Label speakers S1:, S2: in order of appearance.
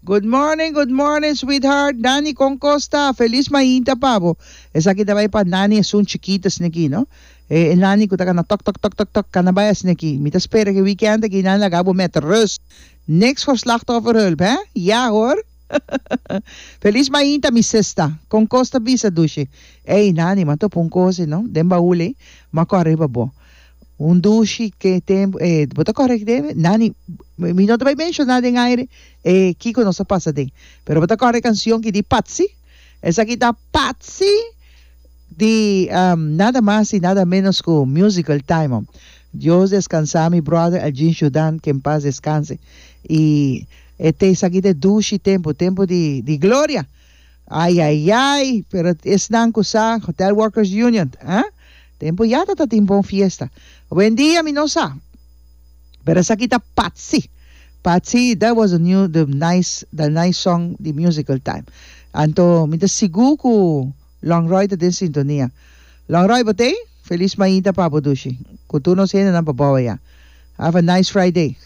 S1: Good morning, good morning, sweetheart. Nani kon kos ta? Felis mainta pa bo. Esaki ta bai pa Nani esun chikito asin'aki, no? E e Nani ku ta kana tok tok tok tok tok kana bai asin'aki. Mi ta spera ku e weekend aki nan laga bo met rust. Niks voor slachtofferhulp, hè? Ja hoor. Felis mainta mi sista. Kon kos ta bisa dushi? Ey Nani, m'a topa un kos ei, no? Den baul ei, m'a kòrda riba bo. Un dushi ke tempu e bo ta kòrda ki Nani mi no ta bai menshoná den aire e kiko nos a pasa den pero bo ta kòrda e kansion ki di Patsy esaki ta Patsy di nada mas y nada menos ku Musical Time Dios deskansa mi brother Elgin Judan ke en paz deskanse y e te esaki ta e dushi tempu tempu di di gloria. Ay ay ay, pero esnan cu sa Hotel Workers Union, ah, tempo ya ta ta tin bon fiesta. Awendia mi no sa, pero esaki ta Patsy. Patsy, that was the new, the nice, the nice song di Musical Time. Anto mi ta sigur cu Longroy ta den sintonia. Longroy, bo t'ey? Feliz mainta pa bo, dushi. Cu tur nos hendenan pa bou aya. Have a nice Friday.